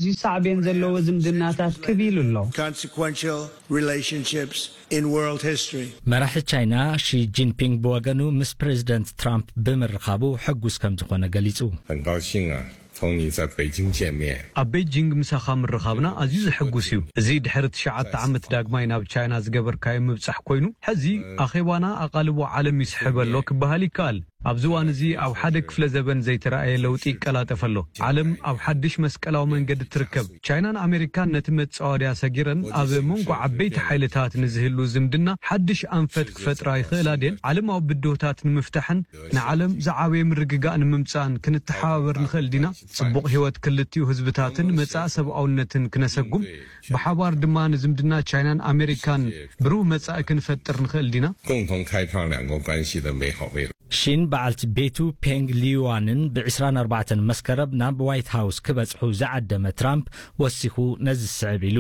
ኣዝዩ ሳዕቤን ዘለዎ ዝምድናታት ክብ ኢሉ ኣሎ። Consequential relationships in world history. መራሒ ቻይና ሺ ጂንፒንግ ብወገኑ፣ ምስ ፕሬዚደንት ትራምፕ ብምርኻቡ ሕጉስ ከም ዝኾነ ገሊጹ። 很高兴啊，同你在北京见面。 ኣብ ቤጂንግ ምሳኻ ምርኻብና ኣዝዩ ዘሐጉስ እዩ። እዚ ድሕሪ ትሽዓተ ዓመት ዳግማይ ናብ ቻይና ዝገበርካዮ ምብጻሕ ኮይኑ፣ ሕዚ ኣኼባና ኣቓልቦ ዓለም ይስሕብ ኣሎ ክበሃል ይከኣል። ኣብዚ እዋን እዚ ኣብ ሓደ ክፍለ ዘበን ዘይተራእየ ለውጢ ይቀላጠፍ ኣሎ። ዓለም ኣብ ሓድሽ መስቀላዊ መንገዲ ትርከብ። ቻይናን ኣሜሪካን ነቲ መጻወድያ ሰጊረን ኣብ መንጎ ዓበይቲ ሓይልታት ንዝህሉ ዝምድና ሓድሽ ኣንፈት ክፈጥራ ይኽእላ ድየን? ዓለማዊ ብድሆታት ንምፍታሕን ንዓለም ዝዓበየ ምርግጋእ ንምምጻእን ክንተሓባበር ንኽእል ዲና? ጽቡቕ ህይወት ክልቲኡ ህዝብታትን መጻኢ ሰብኣውነትን ክነሰጉም፣ ብሓባር ድማ ንዝምድና ቻይናን ኣሜሪካን ብሩህ መጻኢ ክንፈጥር ንኽእል ዲና? 共同开创两国关系的美好未来。 ሺን በዓልቲ ቤቱ ፔንግ ሊዩዋንን ብ ዕስራን ኣርባዕተን መስከረም ናብ ዋይት ሃውስ ክበጽሑ ዝዓደመ ትራምፕ ወሲኹ ነዚ ዝስዕብ ኢሉ።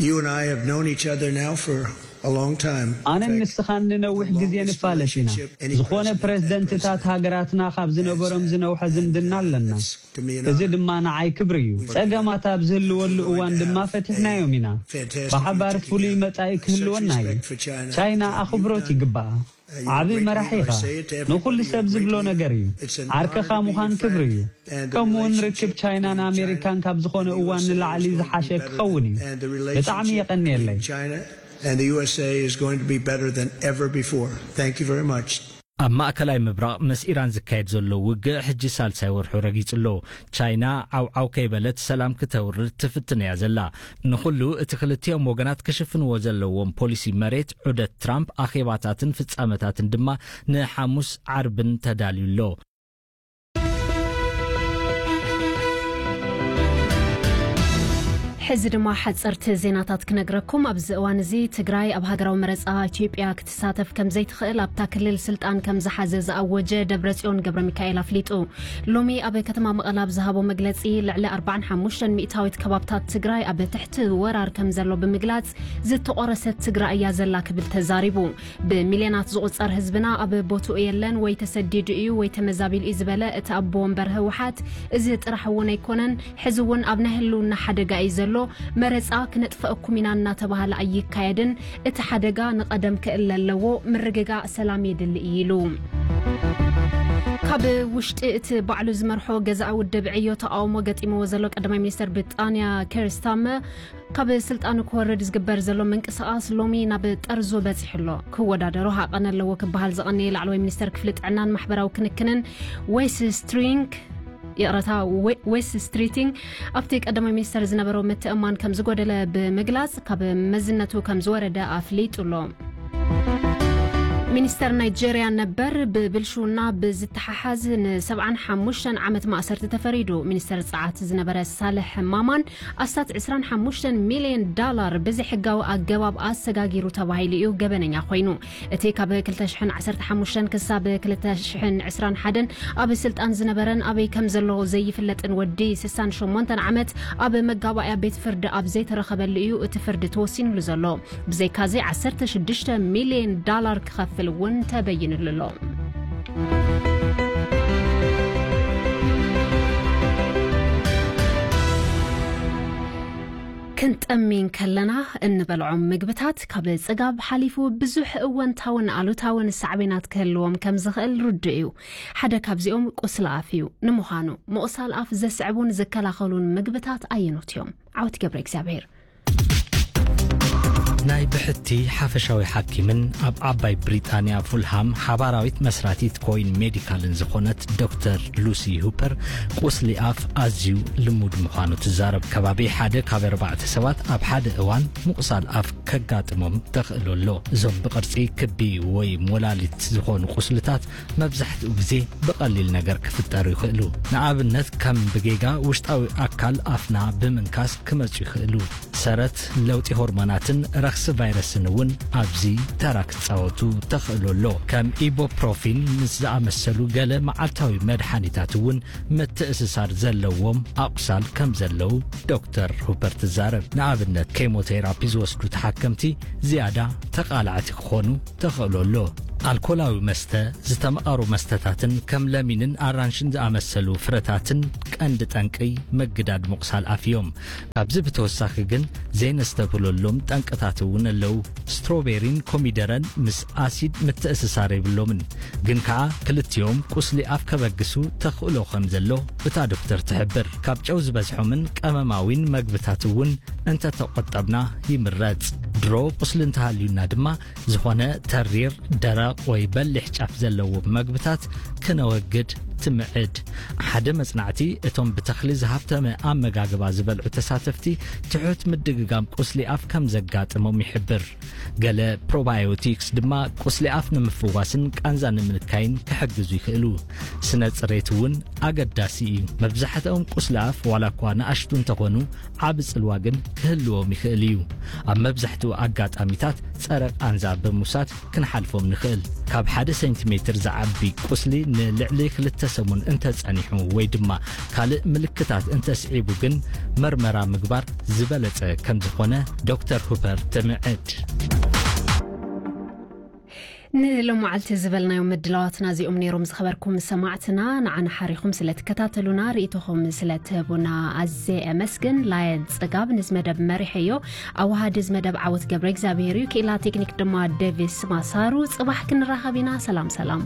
You and I have known each other now for a long time. ኣነን ንስኻን ንነዊሕ ግዜ ንፋለጥ ኢና። ዝኾነ ፕሬዝደንትታት ሃገራትና ካብ ዝነበሮም ዝነውሐ ዝምድና ኣለና። እዚ ድማ ንዓይ ክብሪ እዩ። ጸገማት ኣብ ዝህልወሉ እዋን ድማ ፈቲሕናዮም ኢና። ብሓባር ፍሉይ መጻኢ ክህልወና እዩ። ቻይና ኣኽብሮት ይግባኣ። ዓቢ መራሒ ኢኻ። ንኹሉ ሰብ ዝብሎ ነገር እዩ። ዓርከኻ ምዃን ክብሪ እዩ። ከምኡውን ርክብ ቻይናን ኣሜሪካን ካብ ዝኾነ እዋን ንላዕሊ ዝሓሸ ክኸውን እዩ። ብጣዕሚ የቐንየለይ። And the U S A is going to be better than ever before. Thank you very much. ኣብ ማእከላይ ምብራቕ ምስ ኢራን ዝካየድ ዘሎ ውግእ ሕጂ ሳልሳይ ወርሑ ረጊጹ ኣሎ። ቻይና ዓውዓው ከይበለት ሰላም ክተውርድ ትፍትን እያ ዘላ። ንኹሉ እቲ ክልቲኦም ወገናት ክሽፍንዎ ዘለዎም ፖሊሲ መሬት ዑደት ትራምፕ ኣኼባታትን ፍጻመታትን ድማ ንሓሙስ ዓርብን ተዳልዩ ኣሎ። ሕዚ ድማ ሓፀርቲ ዜናታት ክነግረኩም። ኣብዚ እዋን እዚ ትግራይ ኣብ ሃገራዊ መረፃ ኢትዮጵያ ክትሳተፍ ከም ዘይትኽእል ኣብታ ክልል ስልጣን ከም ዝሓዘ ዝኣወጀ ደብረፅዮን ገብረ ሚካኤል ኣፍሊጡ። ሎሚ ኣብ ከተማ መቐለ ኣብ ዝሃቦ መግለፂ፣ ልዕሊ ኣርባዓን ሓሙሽተን ሚእታዊት ከባብታት ትግራይ ኣብ ትሕቲ ወራር ከም ዘሎ ብምግላፅ፣ ዝተቆረሰት ትግራይ እያ ዘላ ክብል ተዛሪቡ። ብሚልዮናት ዝቑጸር ህዝብና ኣብ ቦትኡ የለን፣ ወይ ተሰዲዱ እዩ ወይ ተመዛቢሉ እዩ ዝበለ እቲ ኣቦ ወንበር ህወሓት፣ እዚ ጥራሕ እውን ኣይኮነን፣ ሕዚ እውን ኣብ ናይ ህልውና ሓደጋ እዩ ዘሎ፣ መረፃ ክነጥፈአኩም ኢና እናተባህለ ኣይካየድን፣ እቲ ሓደጋ ንቐደም ክእለ ኣለዎ፣ ምርግጋእ ሰላም የድሊ እዩ ኢሉ። ካብ ውሽጢ እቲ ባዕሉ ዝመርሖ ገዛኢ ውድብ ዕዮ ተቃውሞ ገጢምዎ ዘሎ ቀዳማይ ሚኒስተር ብሪጣንያ ኬር ስታርመር፣ ካብ ስልጣኑ ክወርድ ዝግበር ዘሎ ምንቅስቃስ ሎሚ ናብ ጠርዙ በጺሑ ኣሎ። ክወዳደሮ ሃቐን ኣለዎ ክበሃል ዝቐነየ ላዕለዋይ ሚኒስተር ክፍሊ ጥዕናን ማሕበራዊ ክንክንን ዌስ ስትሪንግ፣ ይቕረታ፣ ዌ-፣ ዌስ ስትሪቲንግ ኣብቲ ቀዳማይ ሚኒስተር ዝነበሮ ምትእምማን ከም ዝጎደለ ብምግላጽ ካብ መዝነቱ ከም ዝወረደ ኣፍሊጡ ኣሎ። ሚኒስተር ናይጄርያ ነበር ብብልሽውና ብዝተሓሓዝ ንሰብዓን ሓሙሽተን ዓመት ማእሰርቲ ተፈሪዱ። ሚኒስተር ጸዓት ዝነበረ ሳልሕ ማማን ኣስታት ዕስራን ሓሙሽተን ሚልዮን ዳላር ብዘይሕጋዊ ኣገባብ ኣሰጋጊሩ ተባሂሉ እዩ ገበነኛ ኮይኑ። እቲ ካብ ክልተ ሽሕን ዓሰርተ ሓሙሽተን ክሳብ ክልተ ሽሕን ዕስራን ሓደን ኣብ ስልጣን ዝነበረን ኣበይ ከም ዘሎ ዘይፍለጥን ወዲ ስሳን ሸሞንተን ዓመት ኣብ መጋባእያ ቤት ፍርዲ ኣብ ዘይተረኸበሉ እዩ እቲ ፍርዲ ተወሲኑሉ ዘሎ። ብዘይካዚ ዓሰርተ ሽዱሽተ ሚልዮን ዳላር ክኸፍል እውን ተበይኑሉ ኣሎ። ክንጠሚ እንከለና እንበልዖም ምግብታት ካብ ጽጋብ ሓሊፉ ብዙሕ እወንታውን ኣሉታውን ሳዕቤናት ክህልዎም ከም ዝኽእል ርዱእ እዩ። ሓደ ካብዚኦም ቁስሊ ኣፍ እዩ። ንምዃኑ፣ ምቑሳል ኣፍ ዘስዕቡን ዝከላኸሉን ምግብታት ኣየኖት እዮም? ዓወት ገብረ እግዚኣብሔር። ናይ ብሕቲ ሓፈሻዊ ሓኪምን ኣብ ዓባይ ብሪጣንያ ፉልሃም ሓባራዊት መስራቲት ኮይን ሜዲካልን ዝኾነት ዶክተር ሉሲ ሁፐር፣ ቁስሊ ኣፍ ኣዝዩ ልሙድ ምዃኑ ትዛረብ። ከባቢ ሓደ ካብ ኣርባዕተ ሰባት ኣብ ሓደ እዋን ምቑሳል ኣፍ ከጋጥሞም ተኽእሎ ኣሎ። እዞም ብቕርጺ ክቢ ወይ ሞላሊት ዝኾኑ ቁስልታት መብዛሕትኡ ግዜ ብቐሊል ነገር ክፍጠሩ ይኽእሉ። ንኣብነት፣ ከም ብጌጋ ውሽጣዊ ኣካል ኣፍና ብምንካስ ክመጹ ይኽእሉ። ሰረት፣ ለውጢ ሆርሞናትን ረኽሲ ቫይረስን እውን ኣብዚ ተራ ክጻወቱ ተኽእሎ ኣሎ። ከም ኢቦፕሮፊን ምስ ዝኣመሰሉ ገለ መዓልታዊ መድሓኒታት እውን ምትእስሳር ዘለዎም ኣቑሳል ከም ዘለዉ ዶክተር ሁፐር ትዛረብ። ንኣብነት፣ ኬሞቴራፒ ዝወስዱ ተሓከምቲ ዝያዳ ተቓላዕቲ ክኾኑ ተኽእሎ ኣሎ። ኣልኮላዊ መስተ፣ ዝተመቐሩ መስተታትን ከም ለሚንን ኣራንሽን ዝኣመሰሉ ፍረታትን ቀንዲ ጠንቂ ምግዳድ ምቑሳል ኣፍ እዮም። ካብዚ ብተወሳኺ ግን ዘይነስተብህለሎም ጠንቅታት እውን ኣለዉ። ስትሮቤሪን ኮሚደረን ምስ ኣሲድ ምትእስሳር የብሎምን፣ ግን ከኣ ክልቲኦም ቁስሊ ኣፍ ከበግሱ ተኽእሎ ከም ዘሎ እታ ዶክተር ትሕብር። ካብ ጨው ዝበዝሖምን ቀመማዊን መግብታት እውን እንተተቖጠብና ይምረጽ። ድሮ ቁስሊ እንተሃልዩና ድማ ዝኾነ ተሪር፣ ደረቕ ወይ በሊሕ ጫፍ ዘለዎ መግብታት ክነወግድ ትምዕድ። ሓደ መጽናዕቲ እቶም ብተኽሊ ዝሃብተመ ኣመጋግባ ዝበልዑ ተሳተፍቲ ትሑት ምድግጋም ቁስሊ ኣፍ ከም ዘጋጥሞም ይሕብር። ገለ ፕሮባዮቲክስ ድማ ቁስሊ ኣፍ ንምፍዋስን ቃንዛ ንምንካይን ክሕግዙ ይኽእሉ። ስነ ጽሬት እውን ኣገዳሲ እዩ። መብዛሕትኦም ቁስሊ ኣፍ ዋላ እኳ ንኣሽቱ እንተኾኑ ዓቢ ጽልዋ ግን ክህልዎም ይኽእል እዩ። ኣብ መብዛሕትኡ ኣጋጣሚታት ጸረ ቃንዛ ብምውሳድ ክንሓልፎም ንኽእል። ካብ ሓደ ሴንቲሜትር ዝዓቢ ቁስሊ ንልዕሊ ክልተ ሰሙን እንተጸኒሑ ወይ ድማ ካልእ ምልክታት እንተስዒቡ ግን መርመራ ምግባር ዝበለጸ ከም ዝኾነ ዶክተር ሁፐር ትምዕድ። ንሎማዓልቲ ዝበልናዮም ምድላዋትና እዚኦም ነይሮም። ዝኸበርኩም ሰማዕትና፣ ንዓና ሓሪኹም ስለ ትከታተሉና፣ ርእይቶኹም ስለ ትህቡና ኣዝየ ኣመስግን። ላየን ጽጋብ ንዚ መደብ መሪሐዮ። ኣወሃዲ እዚ መደብ ዓወት ገብረ እግዚኣብሔር እዩ። ክኢላ ቴክኒክ ድማ ዴቪስ ማሳሩ። ጽባሕ ክንራኸብ ኢና። ሰላም ሰላም።